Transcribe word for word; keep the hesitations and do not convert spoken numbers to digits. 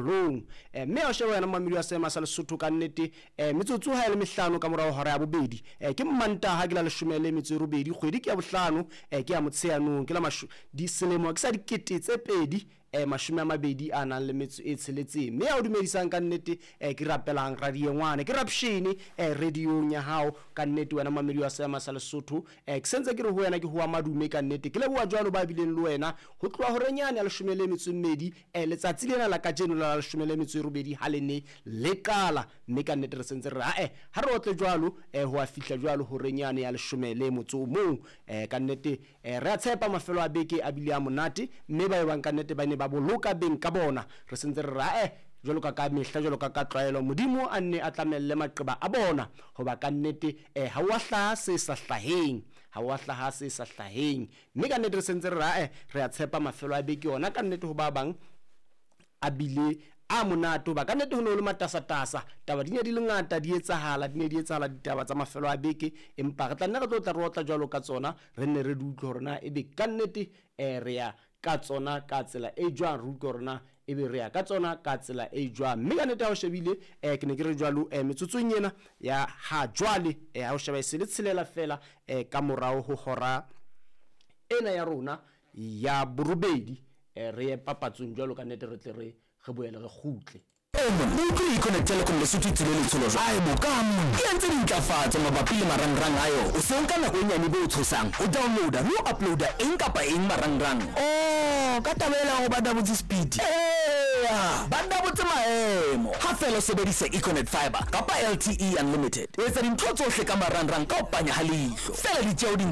Balong. Eh, mme ha o sheba wena momamedi wa seema sa Lesotho, ka nnete eh, metsotso ha e le mehlano ka morao hora ya bobedi, eh, ke Mmantaha, ke la leshome le metso e robedi, kgwedi ke ya bohlano, eh, ke ya Motsheanong, ke la masho di selemo ke sa dikete tse pedi eh, mashome a mabedi a nang le metso e tsheletseng. Mme ya o dumedisang ka nnete eh, ke rapelang radiengwane, ke rapshene eh, radiong ya hao ka nnete wena momamedi wa seema sa Lesotho. eh, ke sentse ke re ho wena ke hoa madume ka nnete, ke leboha jwalo ba bileng le wena ho tloha horenyane ya leshome le metso e mmedi eh, letsatsi lena la kajeno la leshome le metso e robedi ha le ne le qala. Mme ka nnete re sentse re ae ha re otle jwalo eh, ho a fihla jwalo horenyane ya leshome le motso o mong. eh, ka nnete eh, re a tshepa mafelo a beke a bile a monate, mme ba ebang ka nnete ba ne ba boloka beng ka bona. Re sentse re ae jwalo ka ka mehla, jwalo ka ka tlwaelo, Modimo a nne a tlamelle maqeba a bona, hoba ka nnete eh, ha wa hlaha se sa hlaheng, ha wa hlaha se sa hlaheng. Mme ka nnete re sentse re ae re a tshepa mafelo a beke yona ka nnete ho ba bang a bile a monate, hoba ka nnete ho ne ho le matasatasa, taba di ne di le ngata, di etsahala, di ne di etsahala ditaba tsa mafelo a beke. Empa re tla nne re tlo tla re otla jwalo ka tsona, re nne re di utlwe hore na ebe ka nnete eh, re ya ka tsona ka tsela e jwang, re utlwe hore na ebe re ya ka tsona ka tsela e jwang. Mme ka nnete ha o shebile eh, ke ne ke re jwalo eh, metsotsong ena ya ha jwale eh, ha o sheba e se le tshelela fela eh, ka morao ho hora ena ya rona ya borobedi, eh, re ye papatsong jwalo ka nnete, re tle re re boele re kgutle. O utlwile Econet Telecom Lesotho e tswile letsholo jwang? Ae boka monna, e entse dintlafatso mabapi le marangrang a yona. O se o nka nako e nyane be o tshosang ho downloada le ho uploada eng kapa eng marangrang. Oh, ka taba ela hore ba double speed. Eya, ba double maemo ha fela o sebedisa Econet Fiber kapa L T E Unlimited. O etsa dintho tsohle ka marangrang ka ho panya ha leihlo fela. Ditjeo di